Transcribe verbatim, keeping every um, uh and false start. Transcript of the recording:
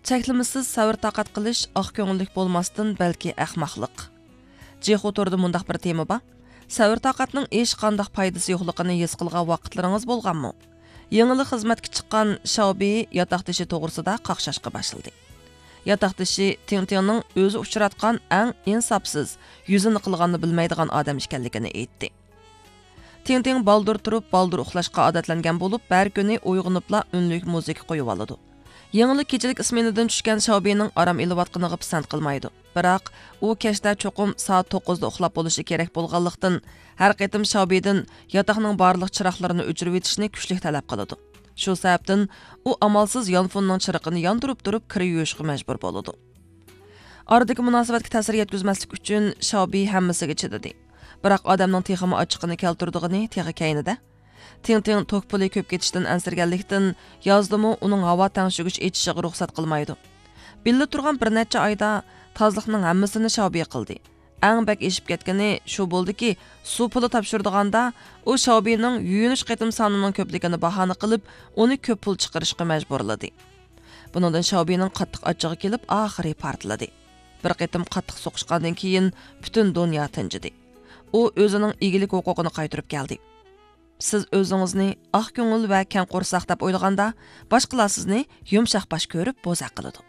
چەكلىمىسىز سەۋر-تاقەت قىلىش ئاق كۆڭۈللۈك بولماستىن، بەلكى ئەخمەقلىق. جىخۇ تورىدا مۇنداق بىر تېما بار: سەۋر-تاقەتنىڭ ھېچقانداق پايدىسى يوقلۇقىنى ھېس قىلغان ۋاقىتلىرىڭىز بولغانمۇ؟ يېڭىلا خىزمەتكە چىققان شاۋبى ياتاقدىشى توغرىسىدا قاقشاشقا باشلىدى. ياتاقدىشى تىڭتىڭنىڭ ئۆزى ئۇچراتقان ئەڭ ئىنساپسىز، يۈزىنى قىلغاننى بىلمەيدىغان ئادەم ئىكەنلىكىنى ئېيتتى. تىڭتىڭ بالدۇر تۇرۇپ، بالدۇر ئۇخلاشقا ئادەتلەنگەن بولۇپ، ھەر كۈنى ئويغىنىپلا ئۈنلۈك مۇزىكا قويۇۋالىدۇ. يېڭىلا كېچىلىك ئىسمېنىدىن چۈشكەن شاۋبىنىڭ ئارام ئېلىۋاتقىنىغا پىسەنت قىلمايدۇ. بىراق، ئۇ كەچتە چوقۇم سائەت توققۇزدا ئۇخلاپ بولۇشى كېرەك بولغانلىقتىن، ھەر قېتىم شاۋبىدىن ياتاقنىڭ بارلىق چىراغلىرىنى ئۆچۈرۈۋېتىشنى كۈچلۈك تەلەپ قىلىدۇ. شۇ سەۋەبتىن، ئۇ ئامالسىز يانفوننىڭ چىرىقىنى ياندۇرۇپ تۇرۇپ، كىر يۇيۇشقا مەجبۇر بولىدۇ. ئارىدىكى مۇناسىۋەتكە تەسىر يەتكۈزمەسلىك ئۈچۈن، شاۋبى ھەممىسىگە چىدىدى. بىراق ئادەمنىڭ تېخىمۇ ئاچچىقىنى كەلتۈرىدىغىنى تېخى كەينىدە. تىڭتىڭ توك پۇلى كۆپ كېتىشتىن ئەنسىرىگەنلىكتىن، يازدىمۇ ئۇنىڭ ھاۋا تەڭشىگۈچ ئېچىشىغا رۇخسەت قىلمايدۇ. بىللە تۇرغان بىر نەچچە ئايدا تازىلىقنىڭ ھەممىسىنى شاۋبى قىلدى. ئەڭ بەك ئېشىپ كەتكىنى شۇ بولدىكى، سۇ پۇلى تاپشۇرىدىغاندا، ئۇ شاۋبىنىڭ يۇيۇنۇش قېتىم سانىنىڭ كۆپلۈكىنى باھانە قىلىپ، ئۇنى كۆپ پۇل چىقىرىشقا مەجبۇرلىدى. بۇنىڭدىن شاۋبىنىڭ قاتتىق ئاچچىقى كېلىپ، ئاخىرى پارتلىدى. بىر قېتىم قاتتىق سوقۇشقاندىن كېيىن، پۈتۈن دۇنيا تىنجىدى. ئۇ ئۆزىنىڭ ئىگىلىك ھوقۇقىنى قايتۇرۇپ كەلدى. سىز ئۆزىڭىزنى ئاق كۆڭۈل ۋە كەڭ قورساق دەپ ئويلىغاندا، باشقىلار سىزنى يۇمشاق باش كۆرۈپ بوزەك قىلىدۇ.